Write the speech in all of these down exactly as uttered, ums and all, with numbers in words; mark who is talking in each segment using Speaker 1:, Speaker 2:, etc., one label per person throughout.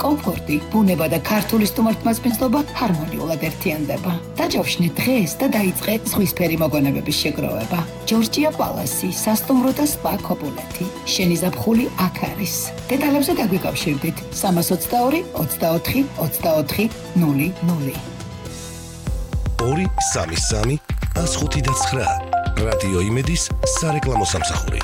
Speaker 1: კომფორტი, ბუნება და ქართული სტუმართმასპინძლობა ჰარმონიულად ერთიანდება. დაჯავშნე დღეს და დაიწყე ზღვისფერი მოგონებების შეგროვება. ჯორჯია პალასი, სასტუმრო და სპა ქობულეთი. შენი ზაფხული აქ არის. დეტალებზე დაგვიკავშირდით სამას ოცდაორი ოცდაოთხი ოცდაოთხი ნული ნული.
Speaker 2: ორი სამი სამი ას ხუთი და ცხრა. რადიო იმედის სარეკლამო სამსახური.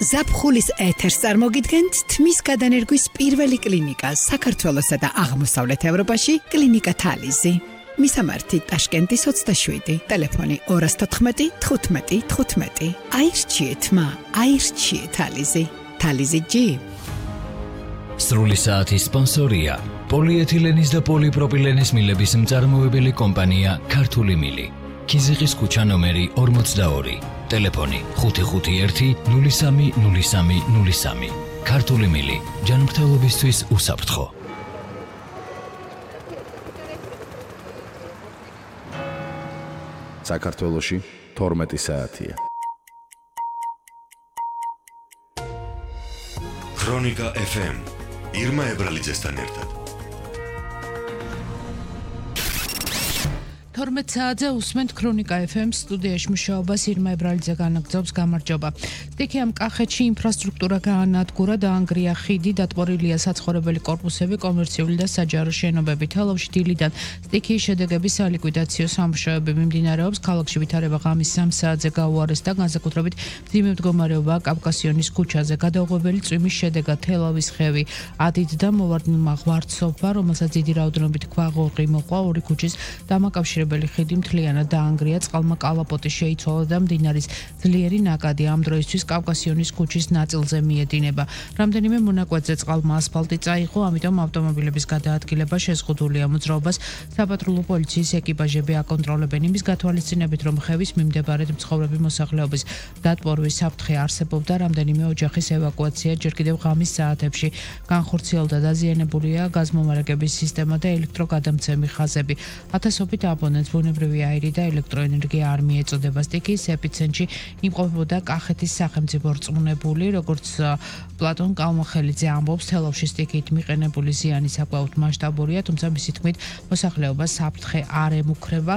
Speaker 3: ზაფხულის ეთერს წარმოგიდგენთ თმის გადანერგვის პირველი კლინიკა საქართველოსა და აღმოსავლეთ ევროპაში კლინიკა თალიზი. მისამართი ტაშკენტის ოცდაშვიდი, ტელეფონი ორი თოთხმეტი თხუთმეტი თხუთმეტი. აირჩიეთ მა, აირჩიეთ თალიზი. თალიზი ჯი.
Speaker 4: სრული საათის სპონსორია პოლიეთილენის და პოლიპროპილენის მილების მწარმოებელი კომპანია ქართული მილი. ქიზიყის ქუჩა ნომერი ორმოცდაორი. ტელეფონი ხუთი ხუთი ერთი ნული სამი ნული სამი ნული სამი. ქართული მილი ჯანმრთელობისთვის უსაფრთხო.
Speaker 5: საქართველოში თორმეტი საათია.
Speaker 2: ქრონიკა ეფ ემ ირმა ებრალიძესთან ერთად.
Speaker 6: თორმეტ საათზე უსმენთ ქრონიკა ეფ ემ სტუდიაში მუშაობას ირმა ებრალიძე განაგრძობს. გამარჯობა. სტიქიამ კახეთში ინფრასტრუქტურა გაანადგურა, დაანგრია ხიდი, დატბორილია საცხოვრებელი კორპუსები, კომერციული და საჯარო შენობები. თელავში დილიდან სტიქიის შედეგების სალიკვიდაციო სამუშაოები მიმდინარეობს. ქალაქში ვითარება ღამის სამ საათზე გაუარესდა, განსაკუთრებით მძიმე მდგომარეობაა კავკასიონის ქუჩაზე. გადაუღებელი წვიმის შედეგად თელავის ხევი ადიდდა, მოვარდნილმა ღვარდსოფა, რომელსაც დიდი რაოდენობით ქვაღორღი მოყვა, ორი ქუჩის დამაკავშირებელი ხიდი მთლიანად დაანგრია, წყალმა კალაპოტი შეიცვალა და მდინარის ძლიერი ნაკადი ამ დროისთვის კავკასიონის ქუჩის ნაწილზე მიედინება. რამდენიმე მონაკვეთზე წყალმა ასფალტი წაიღო, ამიტომ ავტომობილების გადაადგილება შეზღუდულია. მოძრაობას საპატრულო პოლიციის ეკიპაჟები აკონტროლებენ. იმის გათვალისწინებით, რომ ხევის მიმდებარედ მცხოვრები მოსახლეობის დატბორვის საფრთხე არსებობდა, რამდენიმე ოჯახის ევაკუაცია ჯერ კიდევ ღამის საათებში განხორციელდა. დაზიანებულია გაზმომარაგების სისტემა და ელექტროგადამცემი ხაზები. ათასობით აბონენტს ბუნებრივი აირი და ელექტროენერგია არ მიეწოდება. სტიქიის ეპიცენტრში იმყოფებოდა კახეთის სახელმწიფო რწმუნებული, როგორც პლატონ კალმახელიძე ამბობს, თელავში სტიქიით მიყენებული ზიანი საკმაოდ მასშტაბურია, თუმცა მისი თქმით, მოსახლეობას საფრთხე არ ემუქრება.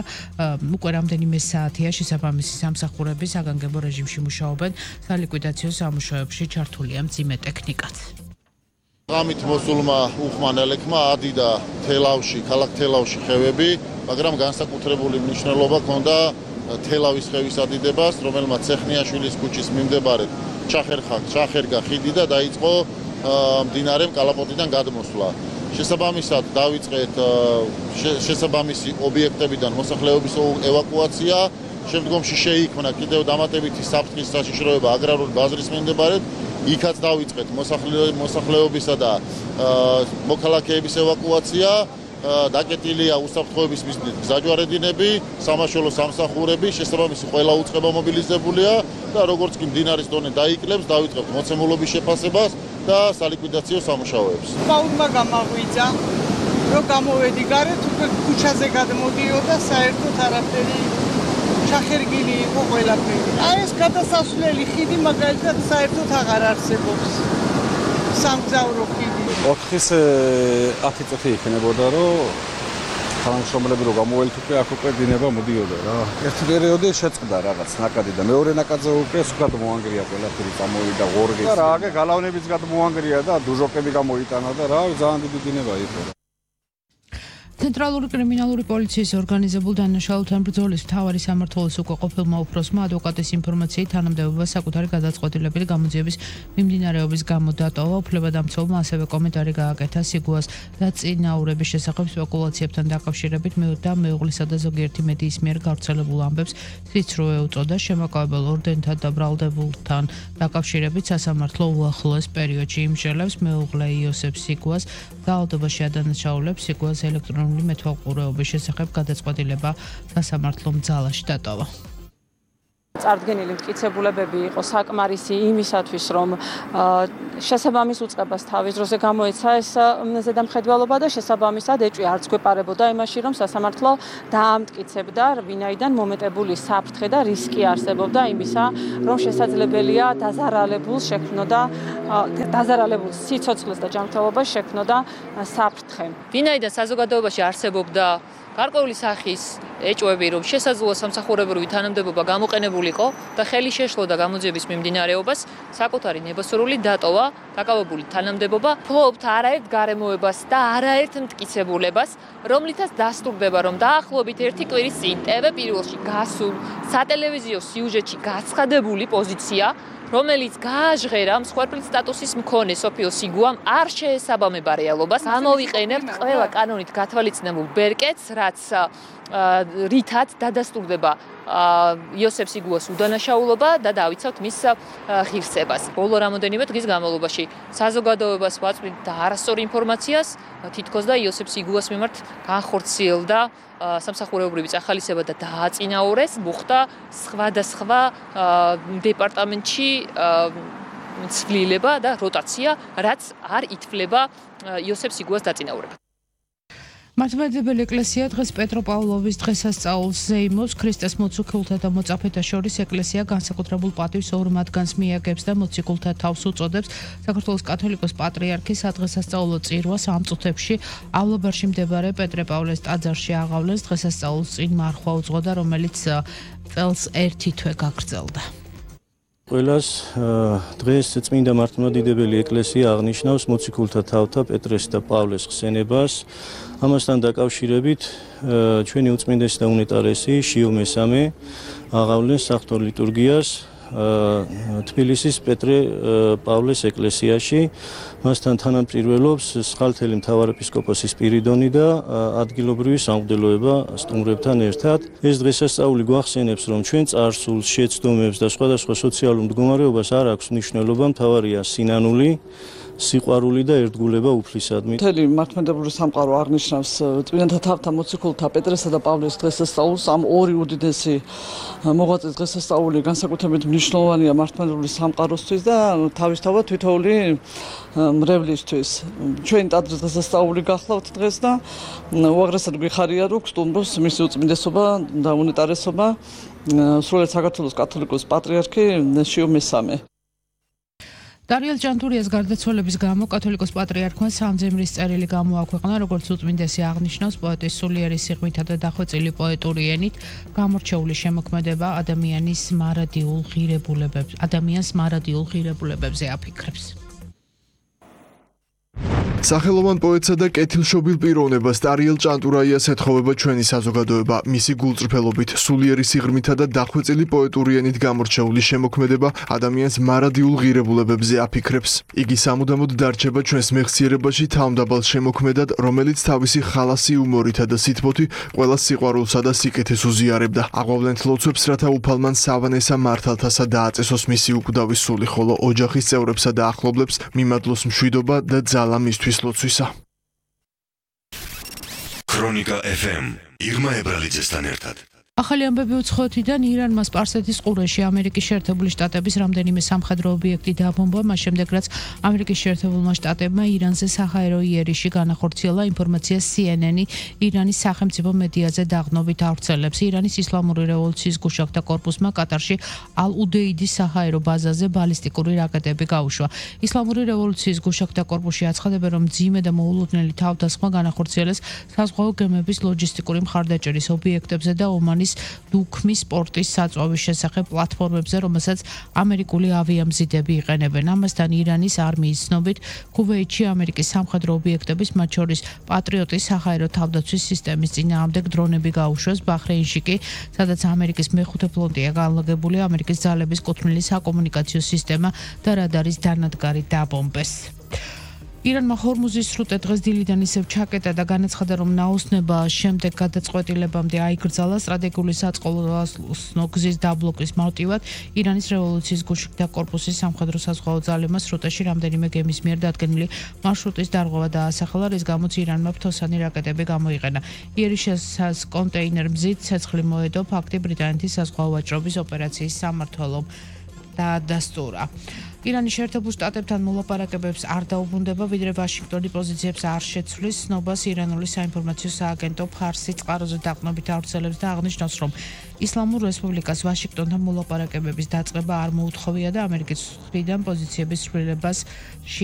Speaker 6: უკვე რამდენიმე საათია შესაბამისი სამსახურები საგანგებო რეჟიმში მუშაობენ, სალიკვიდაციო სამუშაოებში ჩართულია მძიმე ტექნიკაც.
Speaker 7: ღამით მოსულმა უხმანელეთმა ადიდა თელავში, ქალაქ თელავში ხევები, მაგრამ განსაკუთრებული მნიშვნელობა ჰქონდა თელავის ხევის ადიდებას, რომელმაც ცეხნიაშვილის ქუჩის მიმდებარედ ჩახერხა, ჩახერგა ხიდი და დაიწყო მდინარე კალაპოტიდან გადმოსვლა. შესაბამისად დავიწყეთ შესაბამისი ობიექტებიდან მოსახლეობის ევაკუაცია, შემდგომში შეიქმნა კიდევ დამატებითი საფრთხის საშიშროება აგრარული ბაზრის მიმდებარედ. იქაც დავიწყეთ მოსახლეობისა და მოქალაქეების ევაკუაცია, დაკეტილია უსაფრთხოების მიზნით გზაჯვარედინები, სამაშველო სამსახურები, შესაბამისი ყველა უწყება მობილიზებულია და როგორც კი მდინარის დონე დაიკლებს, დავიწყებთ მოცემულობის შეფასებას და სალიკვიდაციო სამუშაოებს.
Speaker 8: ბაუდმა გამაღვიძა, რომ გამოვედი გარეთ, უკვე ქუჩაზე გადმოდიოდა, საერთოდ არაფერი ჩახერგილი იყო ყველაფერი. აი ეს გადასასვლელი ხიდი მაგალითად საერთოდ აღარ არსებობს. სამგზავრო ხიდი.
Speaker 9: ოთხის ათი წუთი იქნებოდა, რომ თანამშრომლები რო გამოველთ უკვე აქ უკვე დინება მოდიოდა რა. ერთი პერიოდი შეწყდა რაღაც ნაკადი და მეორე ნაკადზე უკვე სულად მოანგრია ყველაფერი, წამოვიდა ღორღი. და რა, აგე გალავნებიც გადმოანგრია და დუჟოკები გამოიტანა და რა, ძალიან დიდი დინება იყო.
Speaker 6: ცენტრალური კრიმინალური პოლიციის ორგანიზებულ დანაშაულთან ბრძოლის მთავარი სამმართველოს უკვე ყოფილმა უფროსმა ადვოკატის ინფორმაციით თანამდებობა საკუთარი გადაწყვეტილებით გამოძიების მიმდინარეობის გამო დატოვა. უფლებადამცველმა ასევე კომენტარი გააკეთა სიგუას და წინაურების შესახებ სპეკულაციებთან დაკავშირებით და მეუღლისა და ზოგიერთი მედიის მიერ გავრცელებულ ამბებს ციცრო ეუწოდა. შემაკავებელ ორდენთან და ბრალდებულთან დაკავშირებით სასამართლო უახლოეს პერიოდში იმსჯელებს მეუღლე იოსებ სიგუას დაავადებაში ადანაშაულებს სიგუას ელექტრონული მეთვალყურეობის შესახებ გადაწყვეტილება სასამართლომ ძალაში დატოვა.
Speaker 10: წარდგენილი მტკიცებულებები იყო საკმარისი იმისათვის, რომ შესაბამის უწყებას თავის დროზე გამოეცა ეს ზედამხედველობა და შესაბამისად ეჭვი არც გვეპარებოდა იმაში, რომ სასამართლო დაამტკიცებდა, ვინაიდან მომეტებული საფრთხე და რისკი არსებობდა იმისა, რომ შესაძლებელია დაზარალებულს შექმნოდა დაზარალებულ სიცოცხლეს და ჯანმრთელობას შექმნოდა საფრთხე. ვინაიდან საზოგადოებაში არსებობდა გარკვეული სახის ეჭვები, რომ შესაძლოა სამსახურებრივი თანამდებობა გამოყენებულიყო და ხელი შეშლოდა გამოძიების მიმდინარეობას, საკუთარი ნებასრული დატოვა დაკავებული თანამდებობა ფლობთ არაერთ გარემოებას და არაერთ მტკიცებულებას, რომლითაც დასტურდება, რომ დაახლოებით ერთი კვირის წინ ტე ვე პირველში გასულ სატელევიზიო სიუჟეტში გაცხადებული პოზიცია, რომელიც გააჟღერა მსხვერპლის სტატუსის მქონე სოფიო სიგუამ არ შეესაბამება რეალობას. ამოვიყენებთ ყველა კანონით გათვალისწინებულ ბერკეტს, რაც რითაც დადასტურდება იოსებ სიგუას უდანაშაულობა და დავიცავთ მის ღირსებას. ბოლო რამოდენიმე დღის განმავლობაში საზოგადოებას ვაწვდით და არასწორ ინფორმაციას, თითქოს და იოსებ სიგუას მიმართ განხორციელდა სამსახურებრივი წახალისება და დააწინაურეს, მოხდა სხვადასხვა დეპარტამენტში ცვლილება და როტაცია, რაც არ ითვლება იოსებ სიგუას დაწინაურება.
Speaker 6: მართლმადიდებელი ეკლესია დღეს პეტროპავლოვის დღესასწაულს ზეიმობს. ქრისტეს მოციქულთა და მოწაფეთა შორის ეკლესია განსაკუთრებულ პატივს ორ მათგანს მიაგებს და მოციქულთა თავს უწოდებს. საქართველოს კათოლიკოს პატრიარქის სადღესასწაულო წირვას ამ წუთებში ავლაბარში მდებარე პეტრე-პავლეს ტაძარში აღავლეს. დღესასწაულს წინ მარხვა უძღოდა, რომელიც წელს ერთი თვე გაგრძელდა.
Speaker 11: ყველას დღეს წმინდა მართლმადიდებელი ეკლესია აღნიშნავს მოციქულთა თავთა პეტრეს და პავლეს ხსენებას. ამასთან დაკავშირებით ჩვენი უწმინდესი და უნეტარესი შიო მესამე აღავლეს საღვთო ლიტურგიას თბილისის პეტრე პავლეს ეკლესიაში. მასთან თანამწირველობს სხალთელი მთავარეპისკოპოსი სპირიდონი და ადგილობრივი სამღვდელოება სტუმრებთან ერთად. ეს დღესასწაული გვახსენებს, რომ ჩვენ წარსულს, შეცდომებს და სხვადასხვა სოციალურ მდგომარეობას არ აქვს მნიშვნელობა, მთავარია სინანული, სიყვარული და ერთგულება უფლისადმი.
Speaker 8: მთელი მართლმადიდებელი სამყარო აღნიშნავს წმინდანთა თავთა მოციქულთა პეტრესა და პავლეს დღესასწაულს. ამ ორი უდიდესი მოღვაწის დღესასწაული განსაკუთრებით მნიშვნელოვანია მართლმადიდებელი სამყაროსთვის და თავისთავად თითოეული მრევლისთვის. ჩვენ ტაძრის დღესასწაული გახლავთ დღეს და უაღრესად გვიხარია, რომ გსტუმრობს მისი უწმინდესობა და უნეტარესობა სრულიად საქართველოს კათოლიკოს პატრიარქი შიო მესამე.
Speaker 6: დარიელ ჭანტურიას გარდაცვალების გამო კათოლიკოს პატრიარქმა სამძიმრის წერილი გამოაქვეყნა, როგორც უწმინდესი აღნიშნავს, პოეტის სულიერი სიღრმითა და დახვეწილი პოეტური ენით გამორჩეული შემოქმედება ადამიანის მარადიულ ღირებულებებს, ადამიანს მარადიულ ღირებულებებზე აფიქრებს.
Speaker 12: სახელოვან პოეტსა და კეთილშობილ პიროვნებას დარიელ ჭანტურაიას ეთხოვება ჩვენი საზოგადოება. მისი გულწრფელობით, სულიერი სიღრმითა და დახვეწილი პოეტური ენით გამორჩეული შემოქმედება ადამიანს მარადიულ ღირებულებებზე აფიქრებს. იგი სამუდამოდ დარჩება ჩვენს მეხსიერებაში თავმდაბალ შემოქმედად, რომელიც თავისი ხალასი უმორითა და სითბოთი ყველა სიყვარულსა და სიკეთეს უზიარებდა. აღვავლენთ ლოცვებს, რათა უფალმან სავანესა მართალთასა დააწესოს მისი უკვდავის სული, ხოლო ოჯახის წევრებსა და ახლობლებს მიმადლოს მშვიდობა და ძალა მისთვის ლოცვისა.
Speaker 2: ქრონიკა ეფ ემ ირმა ებრალიძესთან ერთად.
Speaker 6: ახალი ამბები უცხოეთიდან ირანმა სპარსეთის ყურეში ამერიკის შეერთებული შტატების რამდენიმე სამხედრო ობიექტი დააბომბა, მას შემდეგ რაც ამერიკის შეერთებულმა შტატებმა ირანზე საჰაერო იერიში განახორციელა ინფორმაცია სი ენ ენი ირანის სახელმწიფო მედიაზე დაღდნობით ავრცელებს. ირანის ისლამური რევოლუციის გუშაგთა კორპუსმა კატარში ალ-უდეიდის საჰაერო ბაზაზე ბალისტიკური რაკეტები გაუშვა. ისლამური რევოლუციის გუშაგთა კორპუსში აცხადებენ, რომ მძიმე და მოულოდნელი თავდასხმა განახორციელეს საზღვაო გემების ლოჯისტიკური მხარდაჭერის ობიექტებზე და ომანის დუქმის სპორტის საწვავის შესახებ პლატფორმებზე, რომელსაც ამერიკული ავიამზიდები იყენებენ. ამასთან ირანის არმიის ცნობით, ქუვეითში ამერიკის სამხედრო ობიექტების, მათ შორის პატრიოტის საჰაერო თავდაცვის სისტემის წინააღმდეგ დრონები გაუშვეს. ბაჰრეინში კი, სადაც ამერიკის მეხუთე ფლოტია განლაგებული, ამერიკის ძალების კუთვნილი საკომუნიკაციო სისტემა და რადარის დანადგარი დაბომბეს. ირანმა ჰორმუზის სრუტე დღეს დილიდან ისევ ჩაკეტა და განაცხადა, რომ ნაოსნება შემდეგ გადაწყვეტილებამდე აიკრძალა სტრატეგიული საწყლოსნო გზის დაბლოკის მოტივად ირანის რევოლუციის გულშემატკივარი კორპუსის სამხედრო საზღვაო ძალებმა სრუტეში რამდენიმე გემის მიერ დადგენილი მარშრუტის დარღვევა დაასახელა, რის გამოც ირანმა ფთოსანი რაკეტები გამოიყენა. იერიშას კონტეინერ მზით ცეცხლი მოედო ფაქტი ბრიტანეთის საზღვაო ვაჭრობის ოპერაციის სამმართველომ დაადასტურა. ირანის შეერთებულ შტატებთან მოლაპარაკებებს არ დაუბრუნდება, ვიდრე ვაშინგტონი პოზიციებს არ შეცვლის, ცნობას ირანული საინფორმაციო სააგენტო ფარსი წყაროზე დაყრდნობით ავრცელებს და აღნიშნავს, რომ ისლამურ რესპუბლიკას ვაშინგტონთან მოლაპარაკებების დაწყება არ მოუთხოვია და ამერიკის მხრიდან პოზიციების ცვლილებას